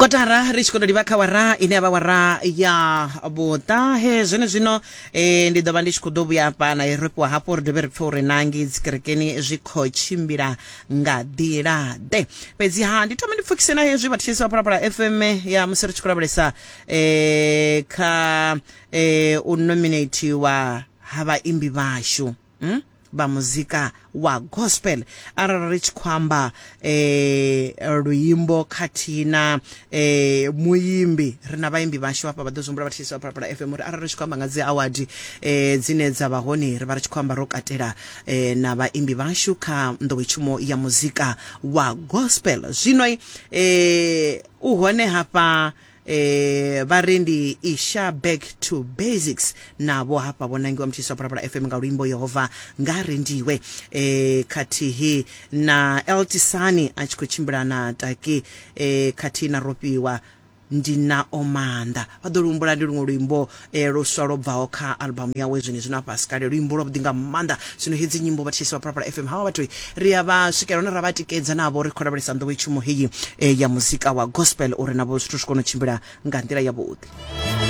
Kotara ri tshi khou tou livha kha wara ine ya vha wara ya vhuṱahe. Zwenezwino e, ndi ḓo vha ndi tshi khou ḓo vhuya hafha na ro fhiwa hafhu ri dovhe ri pfhe uri na ngei dzikerekeni zwi khou tshimbila nga nḓila ḓe. Fhedziha ndi thome ndi pfukise na hezwi vhathetshelesi vha Phalaphala FM ya musi ri tshi khou lavhelesa e, kha e, u nominatiwa ha vhaimbi vhashu. Hmm? Vha muzika wa gospel arali ri tshi khou amba eh, luimbo khathihi na eh, muimbi, ri na vhaimbi vhashu hafha vha ḓo zwi humbula vhathetshelesi vha Phalaphala FM uri arali ri tshi khou amba nga dzi award eh, dzine dza vha hone ri vha ri tshi khou amba ro katela eh, na vhaimbi vhashu kha nḓowetshumo ya muzika wa gospel. Zwino eh, u hone hafha E, vha ri ndi Isha Back to Basics navho hafha vho nangiwa mutshisi wa Phalaphala FM nga luimbo Yehova nga rendiwe, e, khathihi na Eltisani a tshi khou tshimbila na Taki, e, khathihi na Rofhiwa ndi nao maanḓa. Vha ḓo luhumbula ndi luṅwe luimbo e, luswa lwo bvaho kha albamu yawe zwenezwino hafha si kale, luimbo lwavhuḓi nga maanḓa. Zwino hedzi nyimbo vhathetshelesi vha Phalaphala FM havha vhathu ri a vha swikela hune ra vha tikedza navho ri khou lavhelesa nḓowetshumo heyi eh, ya muzika wa gospel uri navho zwithu zwi kone u tshimbila nga nḓila yavhuḓi.